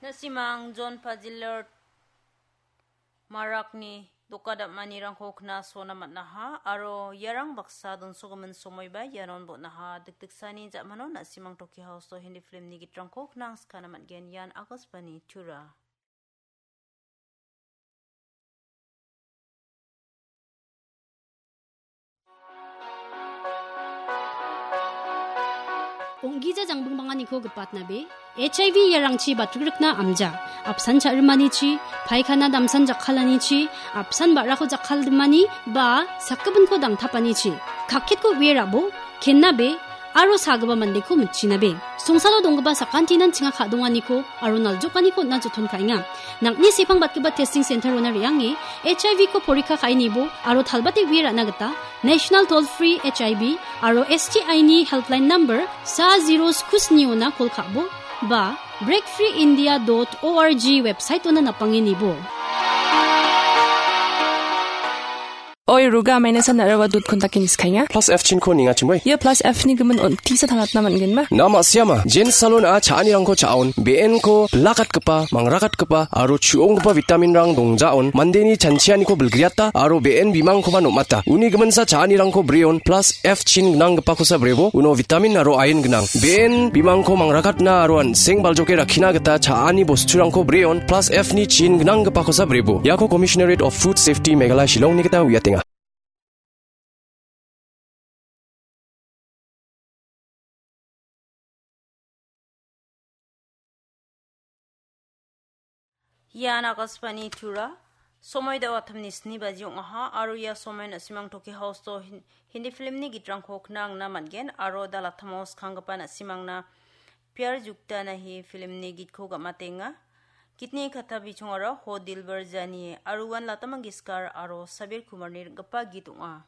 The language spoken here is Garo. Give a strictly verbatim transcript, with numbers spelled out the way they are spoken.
Na·simang John Pajiler Marakni doka dam·anirangko knasona man·aha aro iarang baksa donsogimin somoiba ianon bon·aha. Dikdiksani ja·mano na·simang Toki House-o Hindi filmni gitrangko knangskana man·gen. Ian Akashvani Tura. Ong·gija jangbingbanganiko gipatnabe, H I V iarangchi batrikna amja, apsan cha·rimanichi, paikana damsan jakkalanichi, apsan ba·rako jakkaldimani ba sakgipinko dangtapanichi, kakketko uie rabo, kennabe, aro sagipa mandeko mitchinabe. Songsalo donggipa sakantinan chinga ka·donganiko aro naljokaniko on·na joton ka·enga. Nang·ni sepang batgipa testing center-ona re·ange H I V-ko porikka ka·e nibo aro talbate uie ra·na gita National Toll Free H I V aro S T I-ni helpline number sa zero sku sniona kol ka·bo ba break free india dot org website-ona napange nibo. Oi, ruga, maina san narawa dot contact-in skainga. Plus F chinko ninga chimoi. Ia plus F ni gimin on tisa tangatna man·genma? Nama siama, Jen Salon a cha·anirangko cha·on, B N ko bilakatgipa, mangrakatgipa, aro chu·onggipa vitamin-rang dongjaon, mandeni chanchianiko bilgriata, aro B N bimangkoba nom·ata. Uni giminsa cha·anirangko breon, plus F chin gnanggipakosa brebo, uno vitamin aro iron gnang. B N bimangko mangrakatna aro an·seng baljoke rakkina gita cha·ani bosturangko breon, plus F ni chin gnanggipakosa brebo. Iako Commissionerate of Food Safety Meghalaya Shillongni gita uiatenga. Ian Akashvani Tura, somoi da·o atamni sni baji ong·aha, aro ia somoi na·simang Toki House-o Hin-, Hindi filmni gitrangko knangna man·gen, aro dalatamo skanggipa na·simangna Pyar Jukta Nahi filmni gitko gam·atenga. Gitni katta bichongara Ho Dilbar Janiye, aro uan Lata Mangeshkar aro Sabir Kumarni rim·gipa git ong·a.